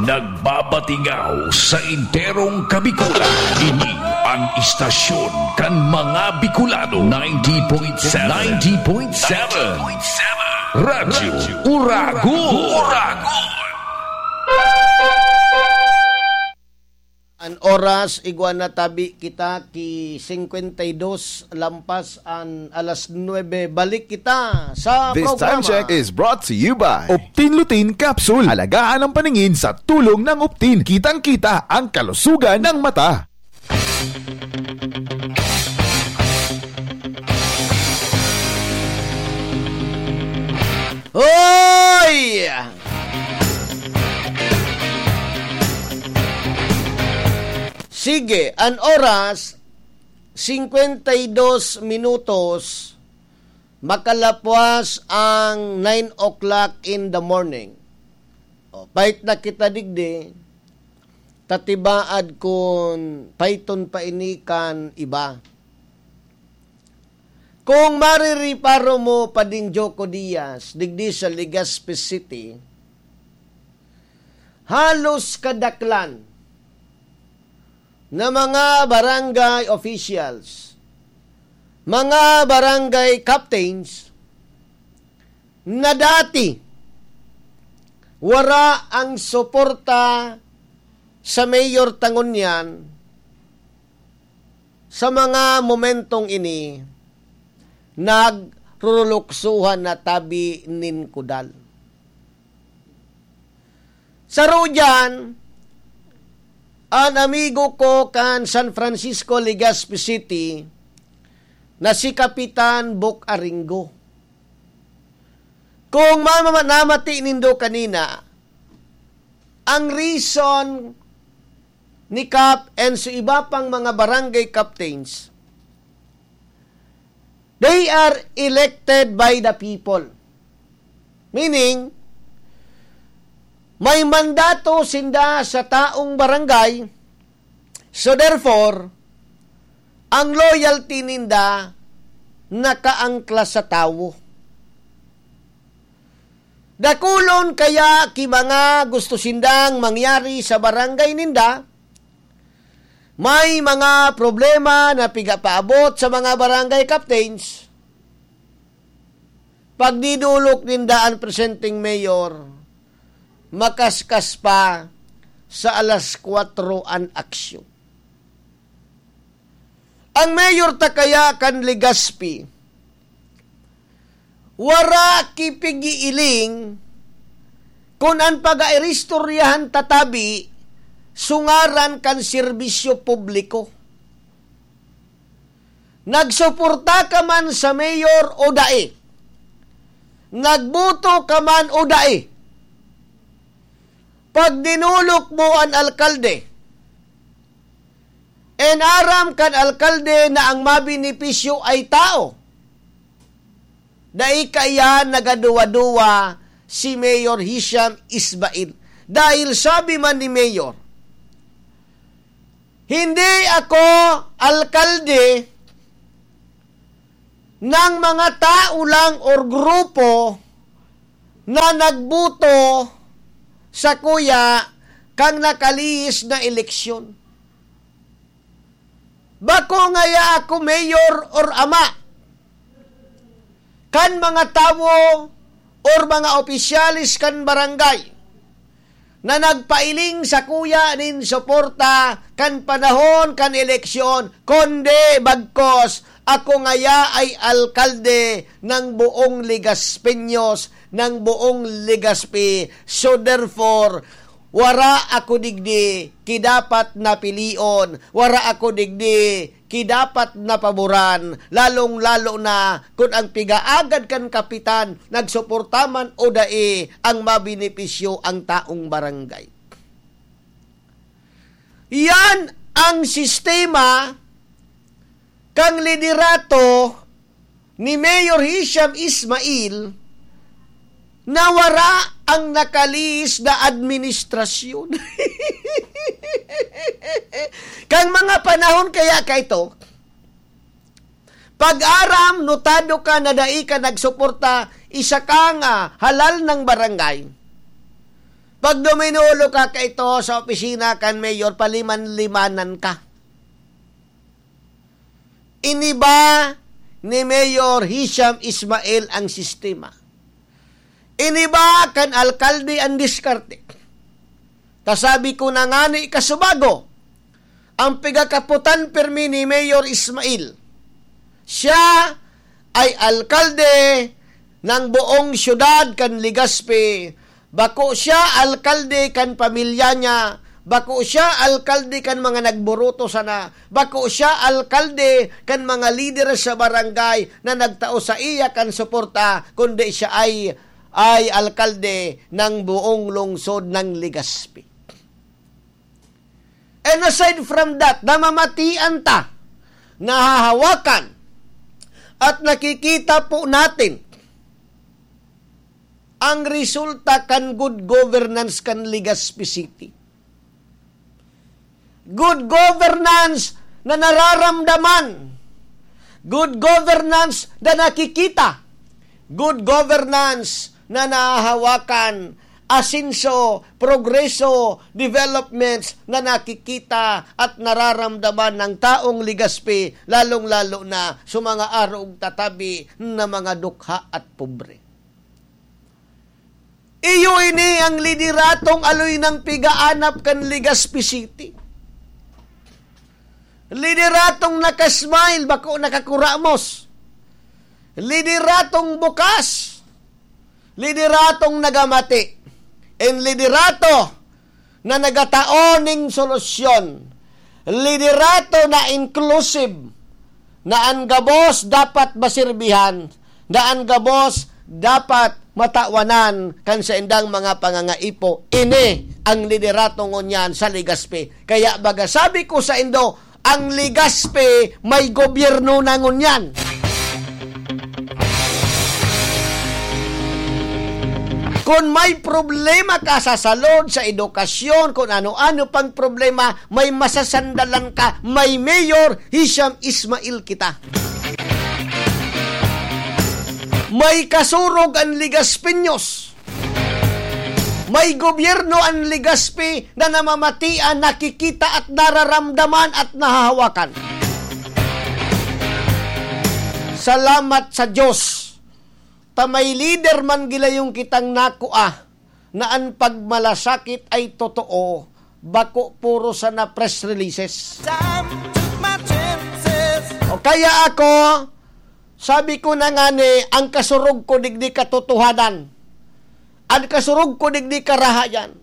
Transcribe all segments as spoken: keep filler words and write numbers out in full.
Nagbabatingaw sa enterong Kabikulan. Ini ang istasyon kan mga Bicolano. Ninety point seven. Ninety point seven. Radyo Uragon. An oras, igwa na tabi kita ki singkwenta y dos lampas an alas nuebe. Balik kita sa This time programa. Check is brought to you by Optin Lutein Capsule. Alagaan ang paningin sa tulong ng Optin. Kitang-kita ang kalusugan ng mata. Hoy! Sige, an oras, singkwenta y dos minutos, makalapwas ang nine o'clock in the morning. O, pait na kita digdi, tatibaad kun paiton pa ini kan iba. Kung maririparo mo, Pading Joko Diaz, digdi sa Legazpi City, halos kadaklan na mga barangay officials, mga barangay captains na dati wara ang suporta sa mayor ta ngunyan, sa mga momentong ini, nagruruluksohan na tabi nin kudal. Saro diyan, an amigo ko kan San Francisco, Legazpi City, na si Kapitan Bok Aringo. Kung mama-, namati nindo kanina, ang reason ni Kap and sa iba pang mga barangay captains, they are elected by the people. Meaning, may mandato sinda sa taong barangay, so therefore, ang loyalty ninda nakaangkla sa tawo. Dakulon kaya ki mga gusto sindang mangyari sa barangay ninda, may mga problema na pigapaabot sa mga barangay captains. Pagdidolok ninda an presenteng mayor, makaskas pa sa alas kwatro an aksyon. Ang mayor ta kaya kan Legazpi, wara ki pig-iiling kun an pag-aristoryahan ta tabi sa ngaran kan serbisyo publiko. Nagsuporta ka man sa mayor o dai, nagboto ka man o dai, pag dinolok mo an alkalde, and aram kan alkalde na ang mabenepisyo ay tao, dai kaiyan nagaduwa-duwa si Mayor Hisham Ismail. Dahil sabi man ni Mayor, "Hindi ako alkalde ng mga tao lang or grupo na nagboto sa kuya kang nakalihis na eleksyon." Bako ngaya ako mayor or ama kan mga tawo or mga opisyales kan barangay na nagpailing sa kuya nin suporta kan panahon kan eleksyon, kundi bagkos ako ngaya ay alkalde ng buong Legazpeños, ng buong Legazpi. So therefore, wara ako digdi ki dapat na pilion, wara ako digdi ki dapat na paboran, lalong-lalo na kun ang pigaagad kan kapitan nagsuporta man o dai, ang mabenepisyo ang taong barangay. Yan ang sistema kan liderato ni Mayor Hisham Ismail na wara ang nakalihis na administrasyon. Kan mga panahon kaya kaito, pag aram, notado ka na dai ka nagsuporta, isa kang halal na barangay. Pag duminulo ka kaito sa opisina kan mayor, paliman-limanan ka. Iniba ni Mayor Hisham Ismail ang sistema. Iniba kan alkalde ang diskarte. Kasabi ko na ngani kasubago, ang pigakapotan pirmi ni Mayor Ismail. Siya ay alkalde ng buong siyudad kan Legazpi. Bako siya alkalde kan pamilya niya. Bako siya alkalde kan mga nagburuto sana. Bako siya alkalde kan mga lider sa barangay na nagtao sa iya kan suporta, kundi siya ay, ay alkalde ng buong lungsod ng Legazpi. And aside from that, namamatian ta, nahahawakan, at nakikita po natin ang resulta kan good governance kan Legazpi City. Good governance na nararamdaman. Good governance na nakikita. Good governance na nahahawakan. Asenso, progreso, developments na nakikita at nararamdaman ng taong Legazpi, lalong-lalo na sa mga arog tatabi na mga dukha at pobre. Iyo ini ang lideratong aloy nang pigaanap kan Legazpi City. Lideratong nakasmile, bako nakakuramos. Lideratong bukas. Lideratong nagamati. And liderato na nagatao ning solusyon. Liderato na inclusive, na an gabos dapat masirbihan, na an gabos dapat matawanan kan saindang mga pangangaipo. Ini ang liderato ngunyan sa Legazpi. Kaya baga sabi ko saindo, ang Legazpi may gobyerno na ngunyan. Kun may problema ka sa salud, sa edukasyon, kun ano-ano pang problema, may masasandalan ka, may Mayor Hisham Ismail kita. May kasurog an Legazpeños. May gobyerno an Legazpi na namamatian, nakikita at nararamdaman at nahahawakan. Salamat sa Diyos ta may lider man gilayong kitang nakua na an pagmalasakit ay totoo, bako puro sana press releases. Time took my chances. O kaya ako, sabi ko na ngani, ang kasurog ko digdi katotohanan. An kasurog ko digdi karahayan.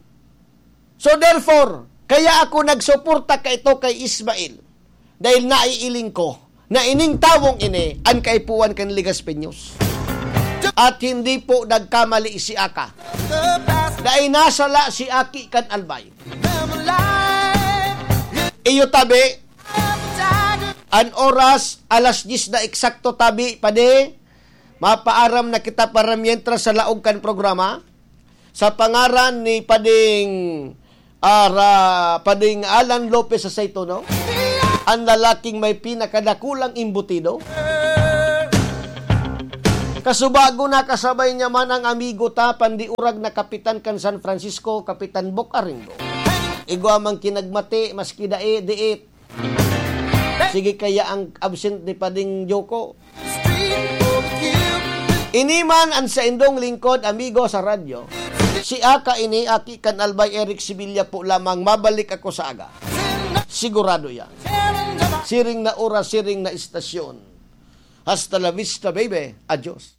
So therefore, kaya ako nagsuporta kaito kay Ismail. Dahil naiiling ko na ining tawong ini an kaipuhan kan Legazpeños. At hindi po nagkamali si Aka. Dahil nasala si Aki kan Albay. Iyo tabi, an oras, alas diyes na eksakto tabi, padi. Mapaaram na kita para mientras sa laog kan programa. Sa pangaran ni Pading, ah, Ra-, Pading Alan Lopez sa Saito, no? Ang lalaking may pinakadakulang imbutido. Kasubago na kasabay niya man ang amigo ta, pandiurag na kapitan kan San Francisco, Kapitan Bok Aringo. Igwa mang kinagmati, maski dai, diit. Sige kaya ang absent ni Pading Joko. Ini man ang saindong lingkod, amigo sa radyo. Si Aka ini, Aki kan Albay Eric Sevilla po lamang. Mabalik ako sa aga. Sigurado yan. Siring na oras, siring na istasyon. Hasta la vista, baby. Adios.